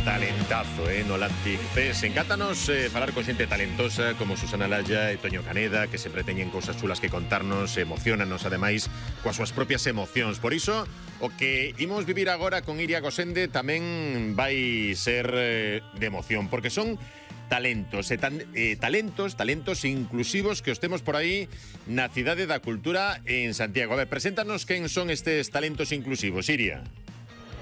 talentazo, no Lantic CES. Encántanos falar con xente talentosa como Susana Laya e Toño Caneda, que sempre teñen cousas chulas que contarnos, emocionanos ademais coas súas propias emocións. Por iso, o que imos vivir agora con Iria Gosende tamén vai ser de emoción, porque son talentos inclusivos que os temos por aí na Cidade da Cultura en Santiago. A ver, preséntanos quen son estes talentos inclusivos, Iria.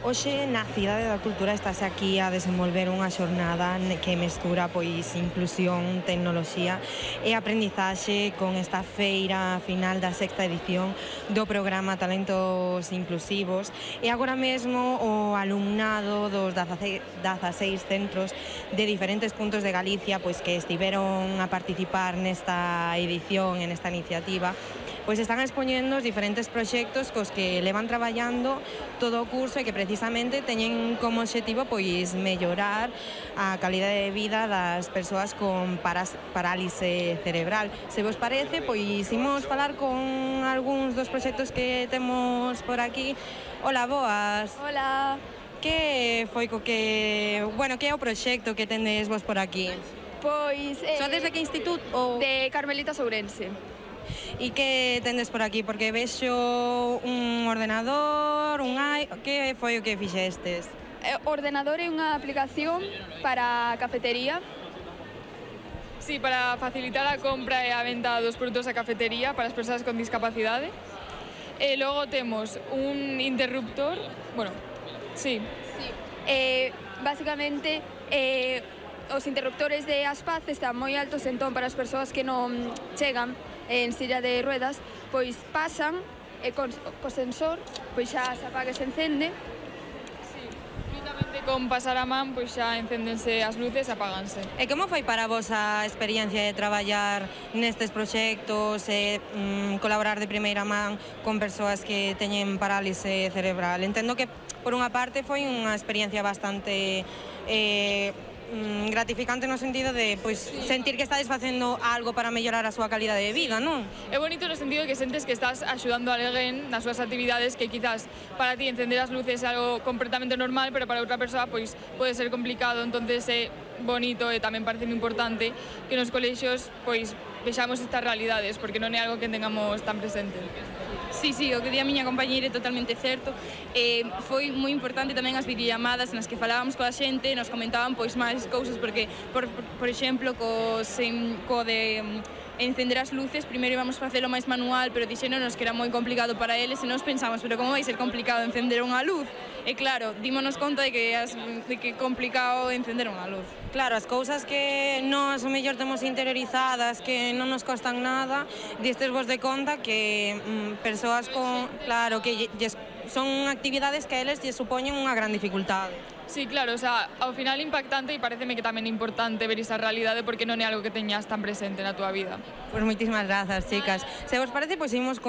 Hoxe na Cidade da Cultura estase aquí a desenvolver unha xornada que mestura pois inclusión, tecnoloxía e aprendizaxe con esta feira final da sexta edición do programa Talentos Inclusivos. E agora mesmo o alumnado dos 16 centros de diferentes puntos de Galicia pois que estiveron a participar nesta edición, en esta iniciativa, pois están expoñendo os diferentes proxectos cos que levan traballando todo o curso e que precisamente teñen como obxectivo pois mellorar a calidade de vida das persoas con parálise cerebral. Se vos parece, pois imos falar con algúns dos proxectos que temos por aquí. Hola, boas. Hola. Que foi co que... Bueno, que é o proxecto que tendes vos por aquí? Pois... Sodes de que instituto? Ou... De Carmelitas Ourense. E que tendes por aquí? Porque vexo un ordenador, que foi o que fixestes? O ordenador é unha aplicación para a cafetería. Sí, para facilitar a compra e a venta dos produtos da cafetería para as persoas con discapacidade. E logo temos un interruptor, bueno, sí. Básicamente, os interruptores de Aspaz están moi altos, entón para as persoas que non chegan en silla de ruedas, pois pasan e co sensor pois xa se apaga e se encende. Sí, únicamente con pasar a man pois xa encéndense as luces e apáganse. E como foi para vos a experiencia de traballar nestes proxectos e colaborar de primeira man con persoas que teñen parálise cerebral? Entendo que por unha parte foi unha experiencia bastante gratificante no sentido de pois sentir que estades facendo algo para mellorar a súa calidade de vida, non? É bonito no sentido de que sentes que estás axudando a alguén nas súas actividades que quizás para ti encender as luces é algo completamente normal, pero para outra persoa pois pode ser complicado, entonces é bonito e tamén parece moi importante que nos colexios pois vexamos estas realidades, porque non é algo que tengamos tan presente. Sí, o que di a miña compañeira é totalmente certo. Foi moi importante tamén as videollamadas nas que falábamos coa xente, nos comentaban pois máis cousas, porque, por exemplo, co de encender as luces, primeiro íbamos facelo máis manual, pero dixéronos que era moi complicado para eles e nos pensamos, pero como vai ser complicado encender unha luz? E claro, dímonos conta de que é complicado encender unha luz. Claro, as cousas que nós o mellor temos interiorizadas, que non nos costan nada, distes vos de conta que persoas con... Claro, que son actividades que a eles lle supoñen unha gran dificultade. Sí, claro, o sea, ao final impactante e pareceme que tamén é importante ver esa realidade porque non é algo que teñas tan presente na túa vida. Pois moitísimas grazas, chicas. Se vos parece, pois imos con